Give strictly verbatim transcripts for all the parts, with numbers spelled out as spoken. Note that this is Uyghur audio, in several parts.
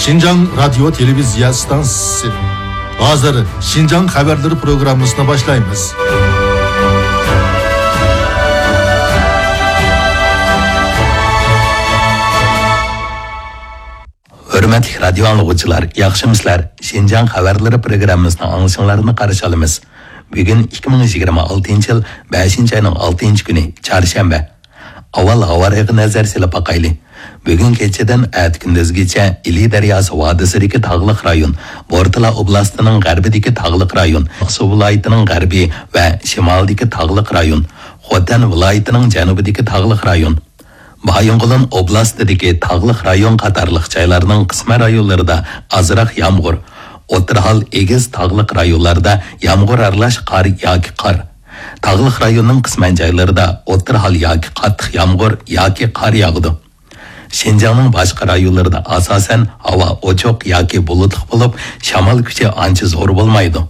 شىنجاڭ رادىيو تېلېۋىزىيە ئىستانسىسى. ھازىر شىنجاڭ خەۋەرلىرى پروگراممىسىنى باشلايمىز. ھۆرمەتلىك رادىيو ئاڭلىغۇچىلار، ياخشىمۇسىلەر؟ شىنجاڭ خەۋەرلىرى پروگراممىسىنى ئاڭلىشىڭلارنى قارشى ئالىمىز. بۈگۈن ئىككى مىڭ يىگىرمە ئالتىنچى يىل بەشىنچى ئاينىڭ ئالتىنچى كۈنى، چارشەنبە. ئاۋۋال ھاۋا رايىغا نەزەر سېلىپ باقايلى. بۈگۈن كېچىدىن ئەتە كۈندۈزگىچە ئىلى دەرياسى ۋادىسىدىكى تاغلىق رايون، بورتالا ئوبلاستىنىڭ غەربىدىكى تاغلىق رايون، ئاقسۇ ۋىلايىتىنىڭ غەربى ۋە شىمالىدىكى تاغلىق رايون، خوتەن ۋىلايىتىنىڭ جەنۇبىدىكى تاغلىق رايون، بايىنغولىن ئوبلاستىدىكى تاغلىق رايون قاتارلىق جايلارنىڭ قىسمەن رايونلىرىدا ئازراق يامغۇر، ئوتتۇرا ھال ئېگىز تاغلىق رايونلاردا يامغۇر ئارىلاش قار ياكى قار، تاغلىق رايوننىڭ قىسمەن جايلىرىدا ئوتتۇرا ھال ياكى قاتتىق يامغۇر ياكى قار ياغىدۇ. شىنجاڭنىڭ باشقا رايونلىرىدا ئاساسەن ھاۋا ئوچۇق ياكى بۇلۇتلۇق بولۇپ، شامال كۈچى ئانچە زور بولمايدۇ.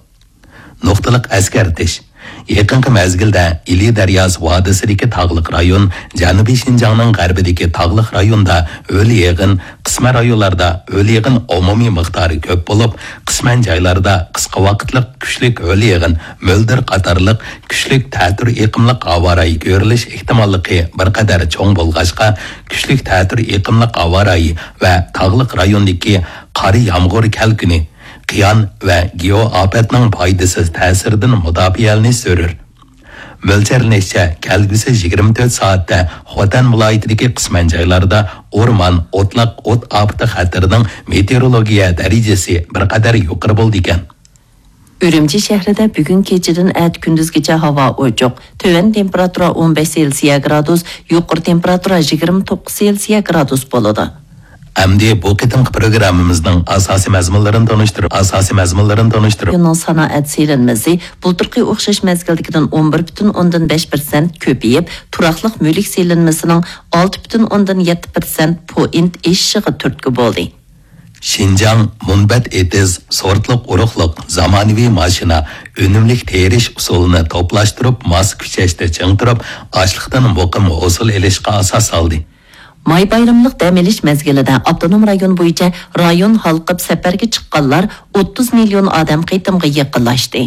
نۇقتىلىق ئەسكەرتىش. يېقىنقى مەزگىلدە ئىلى دەرياسى ۋادىسىدىكى تاغلىق رايون، جەنۇبىي شىنجاڭنىڭ غەربىدىكى تاغلىق رايوندا ھۆل يېغىن، قىسمەن رايونلاردا ھۆل يېغىن ئومۇمىي مىقدارى كۆپ بولۇپ، قىسمەن جايلاردا قىسقا ۋاقىتلىق كۈچلۈك ھۆل يېغىن، مۆلدۈر قاتارلىق كۈچلۈك تەتۈر ئېقىملىق ھاۋا رايى كۆرۈلۈش ئېھتىماللىقى بىر قەدەر چوڭ بولغاچقا، كۈچلۈك تەتۈر ئېقىملىق ھاۋا رايى ۋە تاغلىق رايوندىكى قار يامغۇر كەلكۈنى، قىيان ۋە گېئو ئاپەتنىڭ پايدىسىز تەسىرىدىن مۇداپىئەلىنىش زۆرۈر. مۆلچەرلىنىشىچە، كەلگۈسى يىگىرمە تۆت سائەتتە خوتەن ۋىلايىتىدىكى قىسمەن جايلاردا ئورمان، ئوتلاق ئوت ئاپىتى خەتىرىنىڭ مېتېئورولوگىيە دەرىجىسى بىر قەدەر يۇقىرى بولىدىكەن. ئۈرۈمچى شەھىرىدە بۈگۈن كېچىدىن ئەتە كۈندۈزگىچە ھاۋا ئوچۇق. تۆۋەن تېمپېراتۇرا ئون بەش سېلسىيە گرادۇس، يۇقىرى تېمپېراتۇرا يىگىرمە توققۇز سېلسىيە گرادۇس بولىدۇ. ئەمدى بۇ قېتىمقى پروگراممىمىزنىڭ ئاساسىي مەزمۇنلىرىنى تونۇشتۇرۇپ، ئاساسىي مەزمۇنلىرىنى تونۇشتۇرۇپ. رايوننىڭ سانائەت سېلىنمىسى بۇلتۇرقى ئوخشاش مەزگىلدىكىدىن ئون بىر پۈتۈن ئوندىن بەش پىرسەنت كۆپىيىپ، تۇراقلىق مۈلۈك سېلىنمىسىنىڭ ئالتە پۈتۈن ئوندىن يەتتە پىرسەنت پوئىنت ئېشىشىغا تۈرتكە بولدى. شىنجاڭ مۇنبەت ئېتىز سورتلۇق ئۇرۇقلۇق، زامانىۋى ماشىنا، ئۈنۈملۈك تېرىش ئۇسۇلىنى توپلاشتۇرۇپ، ماس كۈچەشتە چىڭ تۇرۇپ، ئاشلىقتىن مۇقىم ھوسۇل ئېلىشقا ئاساس سالدى. ماي بايرىملىق دەم ئېلىش مەزگىلىدە ئاپتونوم رايون بويىچە رايون ھالقىپ سەپەرگە چىققانلار ئوتتۇز مىليون ئادەم قېتىمغا يېقىنلاشتى.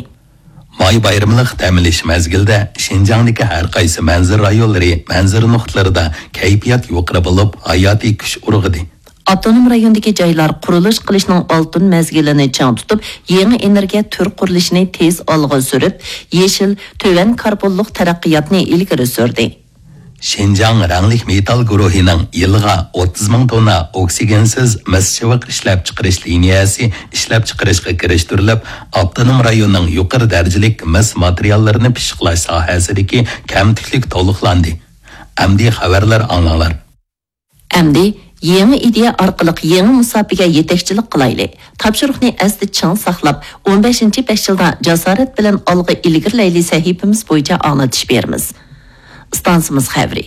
ماي بايرىملىق دەم ئېلىش مەزگىلىدە شىنجاڭدىكى ھەر قايسى مەنزىرە رايونلىرى، مەنزىرە نۇقتىلىرىدا كەيپىيات يۇقىرى بولۇپ، ھاياتىي كۈچ ئۇرغۇدى. ئاپتونوم رايوندىكى جايلار قۇرۇلۇش قىلىشنىڭ ئالتۇن مەزگىلىنى چىڭ تۇتۇپ، يېڭى ئېنېرگىيە تۈر قۇرۇلۇشىنى تېز ئالغا سۈرۈپ، يېشىل، تۆۋەن كاربونلۇق تەرەققىياتنى ئىلگىرى سۈردى. شىنجاڭ رەڭلىك مېتال گۇرۇھىنىڭ يىلىغا ئوتتۇز مىڭ توننا ئوكسىگېنسىز مىس چىۋىق ئىشلەپچىقىرىش لىنىيەسى ئىشلەپچىقىرىشقا كىرىشتۈرۈلۈپ، ئاپتونوم رايوننىڭ يۇقىرى دەرىجىلىك مىس ماتېرىياللىرىنى پىششىقلاش ساھەسىدىكى كەمتۈكلۈك تولۇقلاندى. ئەمدى خەۋەرلەر ئاڭلاڭلار. ئەمدى يېڭى ئىدىيە ئارقىلىق يېڭى مۇساپىگە يېتەكچىلىك قىلايلى. تاپشۇرۇقنى ئەستە چىڭ ساقلاپ، ئون بەشىنچى بەش يىلدا جاسارەت بىلەن ئالغا ئىلگىرىلەيلى سەھىپىمىز بويىچە ئاڭلىتىش بېرىمىز. ئىستانسىمىز خەۋىرى.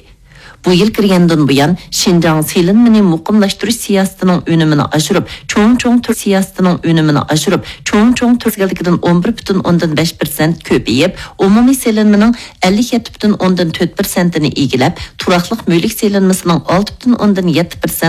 بۇ يىل كىرگەندىن بۇيان، شىنجاڭ سېلىنمىنى مۇقىملاشتۇرۇش سىياسىتىنىڭ ئۈنۈمىنى ئاشۇرۇپ، چوڭ چوڭ تۈر سىياسىتىنىڭ ئۈنۈمىنى ئاشۇرۇپ، چوڭ چوڭ تۈر مەزگىلدىكىدىن ئون بىر پۈتۈن ئوندىن بەش پىرسەنت كۆپىيىپ، ئومۇمىي سېلىنمىنىڭ ئەللىك يەتتە پۈتۈن ئوندىن تۆت پىرسەنتىنى ئىگىلەپ، تۇراقلىق مۈلۈك سېلىنمىسىنىڭ ئالتە پۈتۈن ئوندىن يەتتە پىرسەنت